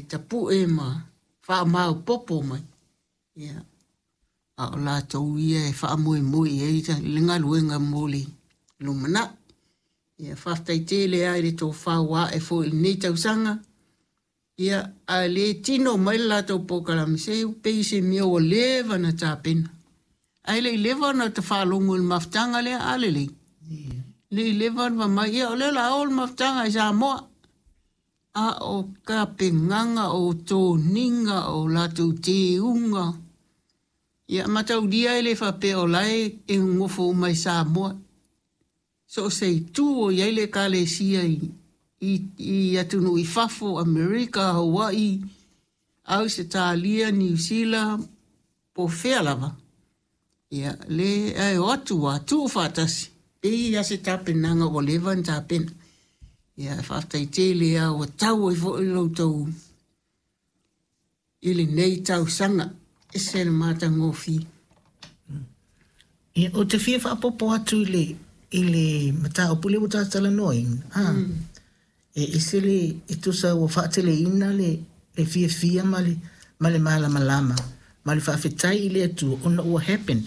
tapue ma faamaopoopo mai, ia, a o latou ia e faamoemoe i ai le galuega mo le lumanai. Ia, faafetai tele lava i le tofa ua ae foi i lenei tausaga. Ia, a le tino mai le latou polokalame, se pei se mea ua leva ona tapena. Ae le i leva ona ta faalogo i le mafutaga lea, a lelei. Le i leva ona fai mai, ia o lea o le a o le mafutaga i Samoa. A o tapenaga, o toniga, o latou teuga, ia mataulia e le faapea o la e nonofo uma i Samoa. So o se itu o i ai le Ekalesia i atunuu i fafo, Amerika, Hawaii, Ausetalia, Niu Sila, po o fea lava, ia, le ae o atu ua tuu faatasi, pei lava se tapenaga ua leva ona tapena. Ia, faafetai tele lava ua tau ai foi lo outou i lenei tausaga. Ese le matagofie. Ia, ou te fia faaopoopo atu i le mataupu lea ua ta talanoaina. E ese le e tusa ua faateleina le fiafia ma le malamalama ma le faafetai i le Atua ona ua happen.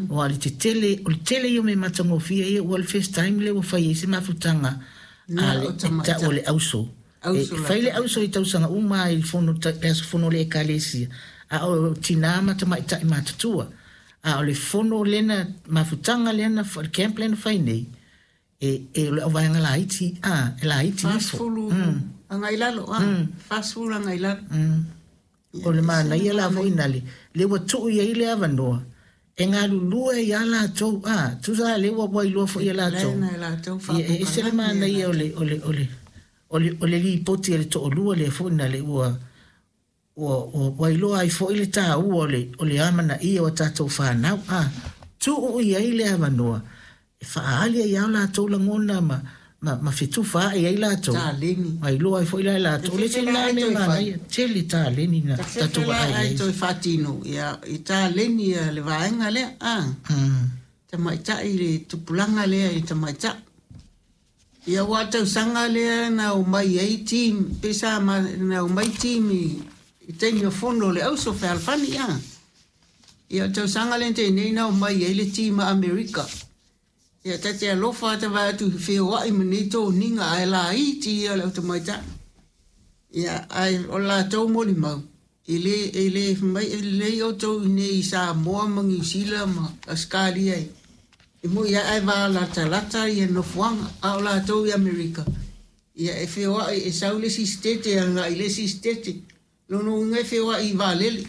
Aua le tetele o le tele ia o mea matagofie ia ua le first time lea ua fai ai se mafutaga a le o tamaitai. Tau o le auso. E Auso fai le auso i tausaga uma i le fono le aso fono o le Ekalesia a o tinā ma tamaitai matutua. A o le fono lena mafutaga lena le camp lena fai nei e o le auvaega laiti a e laiti ifo. 40 agai lalo, a 40 agai lalo. O le manaia la foi na le ua tuu i ai le avanoa e galulue ai a latou a tusa le ua iloa foi e latou. Lena e latou. Ia, e ese le manaia o le lipoti a le toalua lea foi na le ua iloa ai foi le taua o le amanaia o tatou fanau a tuu i ai le avanoa e faaali ai a latou lagona ma fetufaai ai latou. Taleni. Ma iloa ai foi la e latou le Fefe sina la ai mea toe fai. Manaia tele taleni na tatou Fefe la vaai ai ai. Toe faatino, ia, i taleni ia le vaega lea, a tamaitai le tupulaga lea i tamaitai. Ia ua tausaga lea na o mai ai team, pe sa ma, na o mai team i taimi o fono o le auso fealofani a. Ia o tausaga lea te nei na o mai ai le team a Amerika. Ia ta te alofa ata vai atu feoai ma nei toniga ae laiti ia le au tamaitai. Ia ai o latou molimau. E le mai e lelei outou i nei i Samoa ma Niu Sila ma Ausetalia e moi ae valatalata ia nofoaga a o latou i Amerika. Ia e feoai e sau le isi sitete agai le isi sitete. Lona uiga e feoai i vaalele.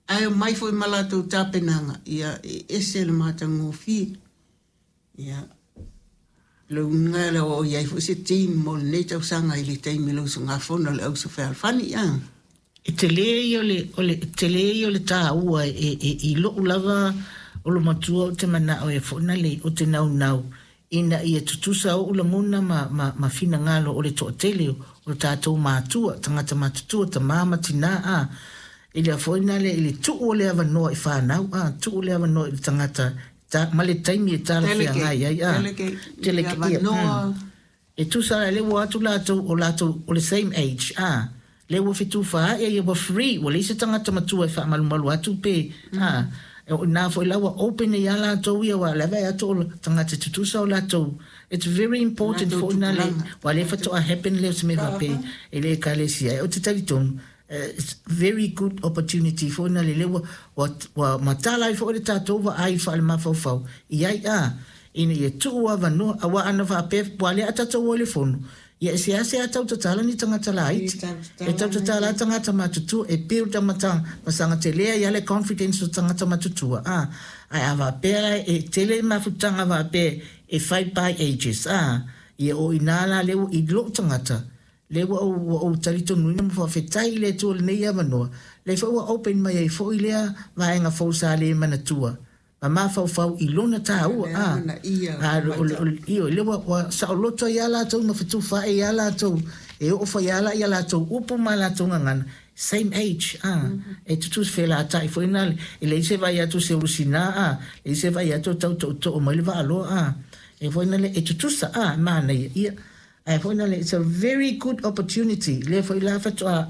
Ae omai foi ma latou tapenaga, ia e ese le matagofie. Ia le uiga le o i ai foi se team mo lenei tausaga i le taimi o le usugafono a le auso fealofani a. E tele ia o le tele ia o le taua e i lou lava o lo matua o te manao e foi na le o te naunau ina ia tutusa oʻu lagona ma finagalo o le toatele o tatou matua tagata matutua tamā ma tinā a i lea foi na le i le tuu o le avanoa i fanau a tuu le avanoa i le tagata ta, ma le taimi e talafeagai ai a Delegate, Delegate, ia, avanoa. E tusa le ua atu latou o latou o le same age a le ua fetufaai ia ua free ua leai se tagata matua e faamalumalu atu pe a o ina foi la ua open ia latou ia ua le vaai atu o tagata tutusa o latou. It's very important Latou foi na le tupulaga. Ua le faatoa happen le o se mea faapea e le Ekalesia o te talitonu it's very good opportunity foi na le le ua matala ai foi le tatou vaai faale-mafaufau i ai a ina ia tuu avanoa aua ana faapea ua le a tatou o i le fono ia e seasea tau tatala ni tagata laiti e tau tatala tagata matutua e build a mata masaga telea ia le confidence o tagata matutua a ae a faapea e tele mafutaga faapea e fai by ages a ia o ina la le i lou tagata le ua ou talitonuina ma faafetai i le Atua lenei avanoa le foi ua open mai ai foi lea vaega fou sa le manatua ma mafaufau i lona taua Le a amanaia a o io le ua saoloto ia latou ma fetufaai ia latou e oo foi ala ia latou upu ma latou gagana same age a e tutusa felatai foi na e leai se vai atu se ulusina a leai se vai atu tau tootoo mai le vaaloa a e foi na le e tutusa a manaia ia ae foi na le it's a very good opportunity le foi la faatoa.